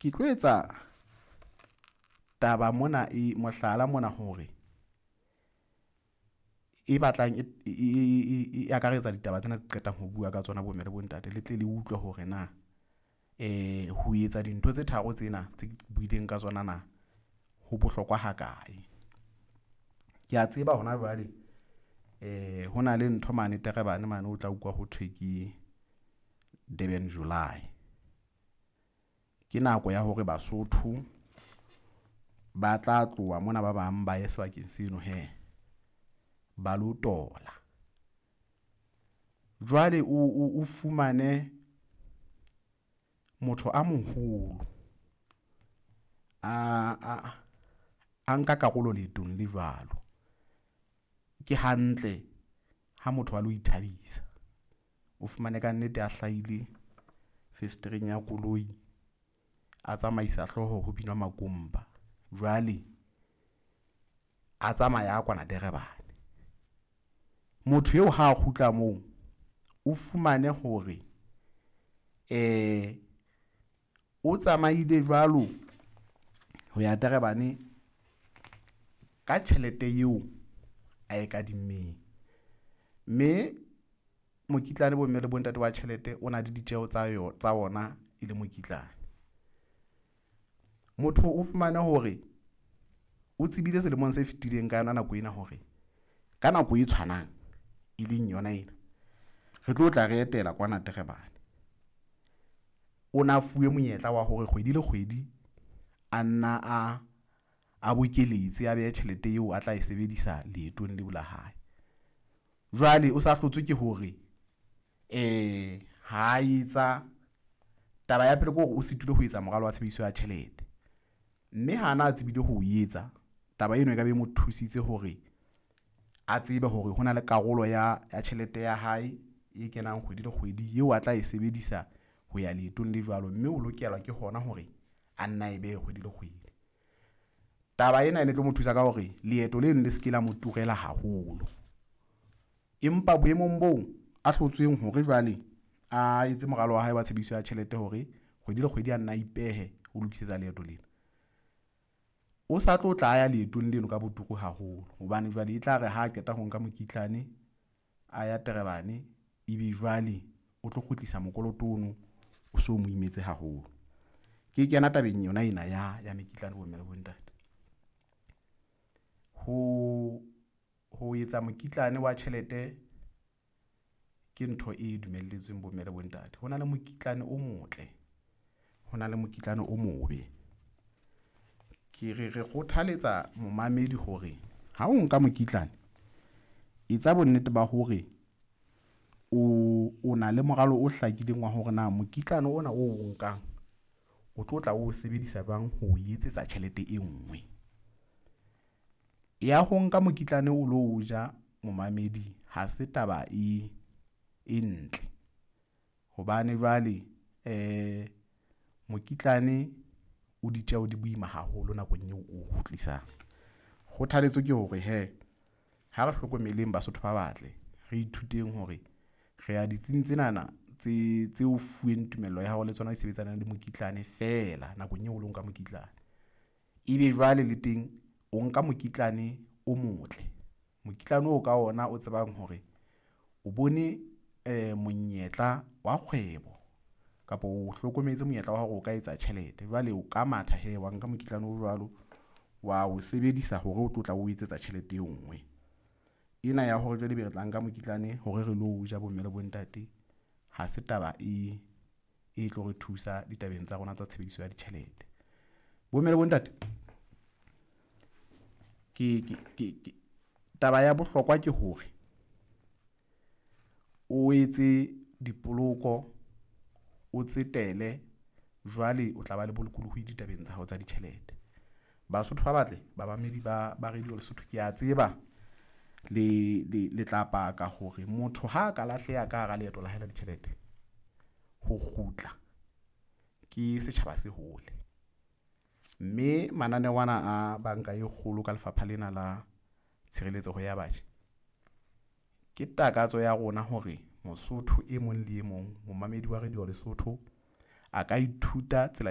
Ke tlo etsa taba mona e mohlala mona hore e batlang e akaretsa ditaba tsena tse qetang ho bua ka tsona bomme le bontate le tle le utlwe hore na ho etsa dintho tse tharo tsena tse ke buileng ka tsona na ho bohlokwa ha kae. Ke ya tseba hona jwale ho na le ntho mane Durban mane o tla utlwa ho thwe ke Durban July. Ke nako ya hore Basotho ba tla tloha mona, ba bang ba ye sebakeng seno hee ba lo tola. Jwale o fumane motho a moholo a nka karolo leetong le jwalo. Ke hantle ha motho a lo ithabisa, o fumane kannete a hlahile fesetereng ya koloi, a tsamaisa hlooho ho binwa makomba. Jwale a tsamaya a kwana Durban. Motho eo ha a kgutla moo o fumane hore o tsamaile jwalo ho ya Durban ka tjhelete eo a e kadimmeng, mme mokitlane bomme le bontate wa tjhelete o na le ditjeho tsa yona tsa ona e le mokitlane. Motho o fumane hore o tsebile selemong se fetileng ka yona nako ena hore ka nako e tshwanang, e leng yona ena, re tlo tla re etela kwana Durban. O na fuwe monyetla wa hore kgwedi le kgwedi a nna a bokeletse a behe tjhelete eo a tla e sebedisa leetong leo la hae. Jwale o sa hlotswe ke hore ha etsa taba ya pele, ke hore o sitilwe ho etsa moralo wa tshebediso ya tjhelete, mme hana a tsebile ho etsa taba eno, e ka be e mo thusitse hore a tsebe hore hona le karolo ya tjhelete ya hae e kenang kgwedi le kgwedi eo a tla e sebedisa ho ya leetong le jwalo, mme o lokela ke hona hore a nna e behe kgwedi le kgwedi. Taba ena e ne tlo mo thusa ka hore leeto leno le se ke la mo turela haholo, empa boemong boo a hlotsweng hore jwale a etse moralo wa hae wa tshebediso ya tjhelete hore kgwedi le kgwedi a nna a ipehe ho lokisetsa leeto lena, o sa tlo tla ya leetong leno ka botumo haholo hobane jwale e tla re ha qeta ho nka mokitlane a ya Durban, ebe jwale o tlo kgutlisa mokoloto ono o so mo imetse haholo. Ke kena tabeng yona ena ya mekitlane bomme le bontate. Ho etsa mokitlane wa tjhelete ke ntho e dumelletsweng bomme le bontate. Ho na le mokitlane o motle, ho na le mokitlane o mobe. Ke re kgothaletsa momamedi hore ha o nka mokitlane, etsa bonnete ba hore o na le moralo o hlakileng wa hore na mokitlane ona o nkang o tlo tla o sebedisa jwang ho etsetsa tjhelete e nngwe ya ho nka mokitlane o lo ja momamedi. Ha se taba e ntle hobane jwale mokitlane o ditjeho di boima haholo nakong eo o kgutlisang. Kgothaletso ke hore hee ha re hlokomeleng Basotho ba batle re ithuteng hore re ya ditsing tsenana tse o fuweng tumello ya hao le tsona di sebetsanang le mokitlane feela nakong eo o lo nka mokitlane, ebe jwale le teng o nka mokitlane o motle, mokitlane oo ka ona o tsebang hore o bone monyetla wa kgwebo kapa o hlokometse monyetla wa hore o ka etsa tjhelete. Jwale o ka matha hee wa nka mokitlane o jwalo wa o sebedisa hore o tlo tla o etsetsa tjhelete e nngwe ena ya hore jwale ebe re tla nka mokitlane hore re lo ja bomme le bontate. Ha se taba e tlo re thusa ditabeng tsa rona tsa tshebediso ya ditjhelete, bomme le bontate. Ke taba ya bohlokwa ke hore o etse dipoloko, o tsetele jwale o tla ba le bolokolohi ditabeng tsa hao tsa ditjhelete. Basotho ba batle, bamamedi ba Radio Lesotho, ke ya tseba le tla paka hore motho ha a ka lahleha ka hara leeto la hae la ditjhelete, ho kgutla ke setjhaba se hole, mme mananeo ana a banka e kgolo ka lefapha lena la tshireletseho ya batjha. Ke takatso ya rona hore Mosotho e mong le e mong, momamedi wa Radio Lesotho a ka ithuta tsela ya.